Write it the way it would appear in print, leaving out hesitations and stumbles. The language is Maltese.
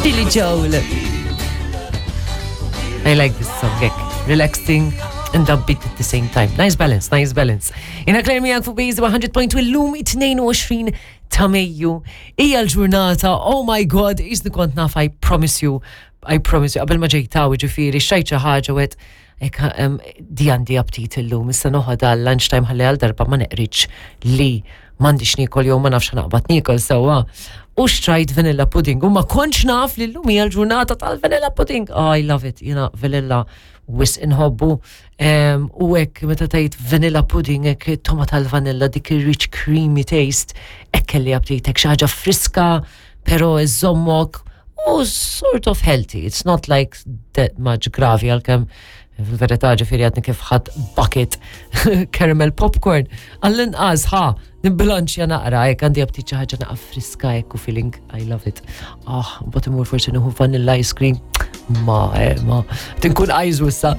Billy Joel. I like this song, hekk. Relaxing and upbeat at the same time. Nice balance, nice balance. Jena Claire miegħek fuq Base 100.2 illum 22 ta' Mejju. Hija l-ġurnata, oh my god, jisni kont naf, I promise you, I promise you, qabel ma ġejtaw ġifieri, xajt xi ħaġa u għedt, Ek, di għandi aptit illum, issa noħodha għal lunchtime ħalli għal darba ma neqriċ li m'għandix niekol jew ma nafx naqbad niekol sewwa. U xtrajt vanilla pudding u ma kontx naf li llum hija l-ġurnata tal-vanilla pudding. Oh, I love it, jiena vanilla wis inħobbu. U hekk meta tgħid vanilla pudding hekk toma tal-vanilla dik ir-rich creamy taste, hekk kelli aptit hekk xi ħaġa friska, pero iżommok u sort of healthy. It's not like that much gravi għalkemm fil-verità ġifieri għadni kif ħadd bucket caramel popcorn. Għall-inqas ħa nibbilanċja naqra hekk għandi aptit xi ħaġa naqa' friska hekk u feeling I love it. Ah, mbagħad imur forsi nieħu vanilla ice cream. Ma, eh, ma, tinkun għajżu issa.